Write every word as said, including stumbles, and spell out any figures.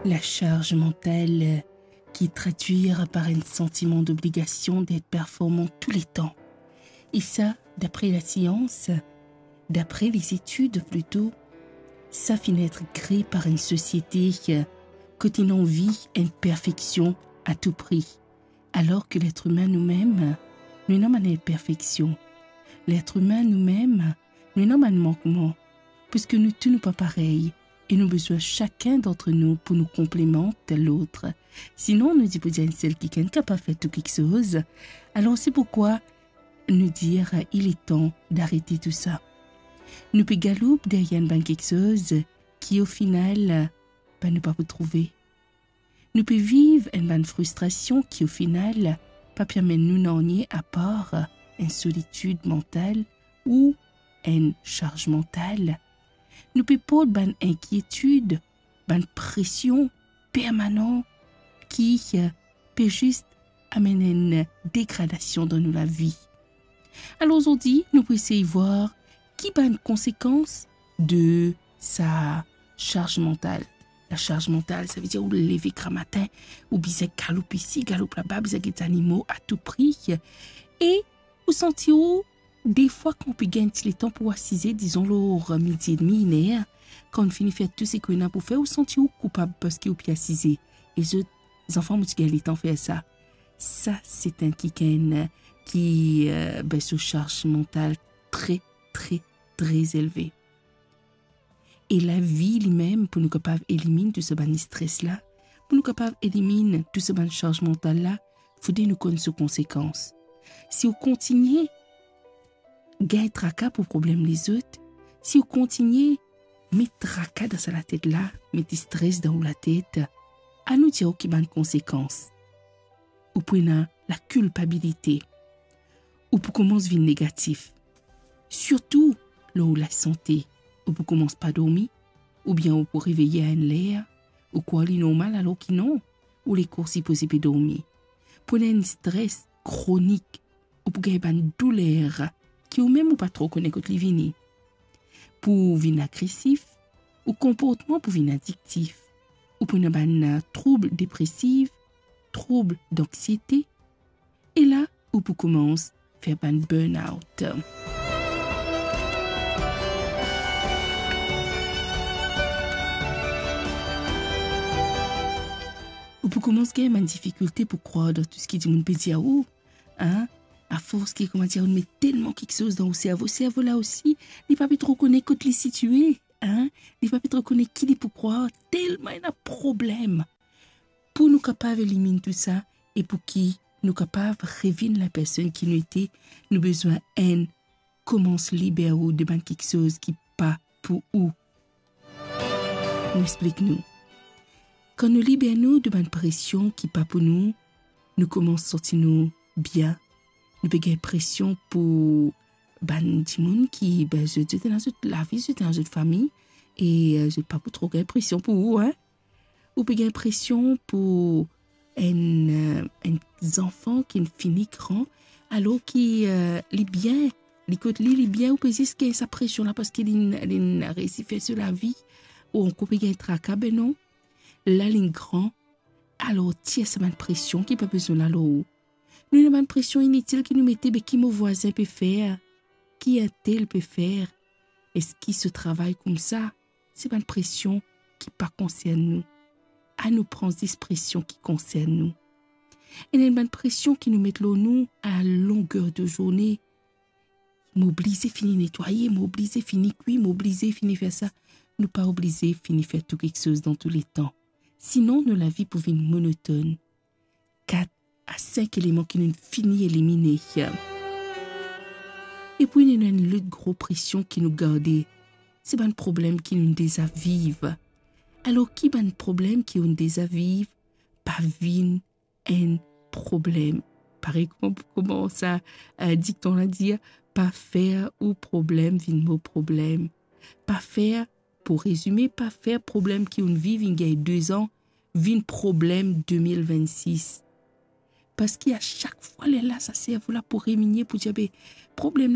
La charge mentale qui est traduite par un sentiment d'obligation d'être performant tout le temps. E sa, dapre lasians, dapre les études plito, sa finn et kree par enn sosiete kot ena anvi enn perfeksion a tou pri. Alor ki letr imin noumem, nou ena bann inperfeksion. Letr imin noumem, nou ena bann mankman, piski nou tou nou pa parey, e nou bizin sakenn d'ant nou pou nou konplemant lot. Sinon, nou dir pou dir enn sel kikenn kapav fer tou kiksoz. Alor, se poukwa nou dir, il est temps d'arrêter tout ça. Nou pe galoup deryer enn bann kiksoz ki, o final, bann nou pa pou trouve. Nou pe viv enn bann fristrasion ki, o final, pa pe amenn nou nanye apar enn solitid mantal ou enn sarz mantal. Nou pe port bann inkietid, bann presion permanan ki, eh, pe zis amenn enn degradasion dan nou lavi. Alor, zordi, nou pou esey vwar ki bann konsekans de sa sarz mantal. La sarz mantal, savedir ou leve gramatin, ou bizin galoup isi, galoup laba, bizin get zanimo a tou pri. E ou santi ou, defwa, kan ou pe gagn ti letan pou asize, dizon lor midi edmi, iner, kan ou fini fer tou seki ou ena pou fer, ou santi ou koupab parski ou pe asize. E zot, zanfan, mo ti gagn letan fer sa. Sa, se enn kikenn ki, eh, be so sarz mantal tre, tre, tre elve. E lavi limem, pou nou kapav eliminn tou sa bann stres la, pou nou kapav eliminn tou sa bann sarz mantal la, fode nou konn so konsekans. Si ou kontinie gagn traka pou problem lezot, si ou kontinie met traka dan sa latet la, met stres dan ou latet, anou dir ou ki bann konsekans. Ou pou ena lakilpabilite. Ou pou koumans vinn negatif. Sirtou lor ou lasante. Ou pou koumans pa dormi, oubien ou pou reveye a enn ler, ou krwar li normal alor ki non, ou lekor sipoze pe dormi. Pou ena enn stres kronik, ou pou gagn bann douler ki ou mem ou pa tro kone kot li vini. Pou vinn agresif, ou konportman pou vinn adiktif. Ou pou ena bann, eh, troub depresif, troub danksiete, e la, ou pou koumans fer bann burn-out. Ou pou koumans gagn bann difikilte pou krwar dan tou seki dimoun pe dir ou, hein? Afors ki, kouma dir, ou met telman kiksoz dan ou servo, servo la osi, li pa pe tro kone kot li sitie, hein? Li pa pe tro kone ki li pou krwar, telman ena problem. Pou nou kapav eliminn tou sa, e pou ki nou kapav revinn lapersonn ki nou ete, nou bizin, enn, koumans liber ou de bann kiksoz ki pa pou ou. Nou explik nou. Kan nou liber nou de bann presion ki pa pou nou, nou koumans santi nou bien. Nou pe gagn presion pou bann dimoun ki, be, zot, zot ena zot lavi, zot ena zot fami, e, eh, zot pa pou tro gagn presion pou ou, hein. Ou pe gagn presion pou enn, eh, enn zanfan ki fini gran, alor ki, eh, li bien, li kot li, li bien, ou pe zis gagn sa presion la parski li, li reisi fer so lavi, ou ankor pe gagn traka, be non. La li gran, alor tir sa bann presion ki pa bizin la lor ou. Nou ena bann presion initil ki nou mete, be ki mo vwazin pe fer, ki entel pe fer, eski so travay koumsa, se bann presion ki pa konsern nou. Anou pran zis presion ki konsern nou. Ena enn bann presion ki nou met lor nou a longer de zourne. Mo oblize fini netwaye, mo oblize fini kwi, mo oblize fini fer sa. Nou pa oblize fini fer tou kiksoz dan tou letan. Sinon, nou lavi pou vinn monotonn. Kat a sink eleman ki nou fini elimine. Epi, ena enn lot gro presion ki nou garde, se bann problem ki nou deza viv. Alor, ki bann problem ki ou deza viv pa vinn enn problem? Parey kouma, kouma sa, eh, dikton la dir, pa fer ou problem vinn mo problem. Pa fer, pou rezime, pa fer problem ki ou viv inn gagn de zan vinn problem de mil vennsis. Parski a sak fwa lerla sa servo la pou riminie, pou dir, be, problem